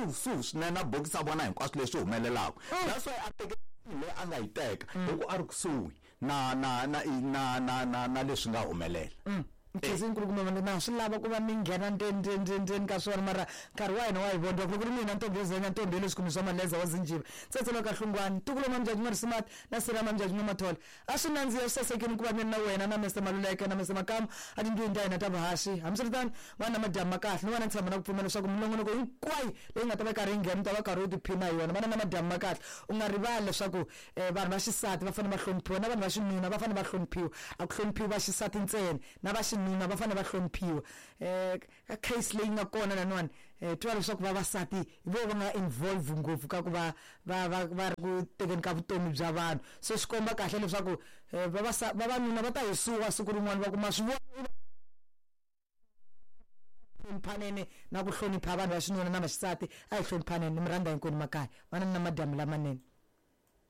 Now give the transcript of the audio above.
Kusuhi swinene na bokisi a vona hinkwaswo leswi humelelaka. That's why a teke leyi a nga yi teka hi ku a ri kusuhi na na na na na na na leswi nga humelela. Nkhensi nkulukumba mani na swi lava ku va mi nghena ndzeni ndzeni ndzeni ndzeni ka swona mara nkarhi wa hina wa hi vondwa ku ri mina ntombi yo zenya ntombi ya le swikhumbi swa maleza wa zinjiva tsetselo ka hlungwani ntukulu wa mamjaji n'wa-Risimati na sirha mamjaji n'wa-Mathole a swi nandziha swi sasekile ku va mi ri na wena na Mister Maluleke na Mister Makamu a tindlwini ta hina ta vuhaxi hambiswiritano va na madyambu ma kahle ni va na ntshembo na ku pfumela leswaku minongonoko hinkwayo leyi nga ta va yi karhi yi nghena u ta va karhi u tiphina hi yona va na na madyambu ma kahle u nga rivali leswaku vanhu va xisati va fanele va hloniphiwa na vanhu va xinuna va fanele va hloniphiwa a ku hloniphiwi va xisati ntsena na va xinuna va fanele va hloniphiwa ka case leyi nga kona laniwani twa leswaku vavasati hi vo va nga involve ngopfu ka ku va va va va ri ku tekeni ka vutomi bya vanhu se swi komba kahle leswaku vavanuna va ta hisiwa siku rin'wana va kuma swi vona hloniphanene na ku hlonipha vanhu va xinuna na vaxisati a hi hloniphanene ni mi rhandza hinkwenu makaya vanani na madyambu lamanene.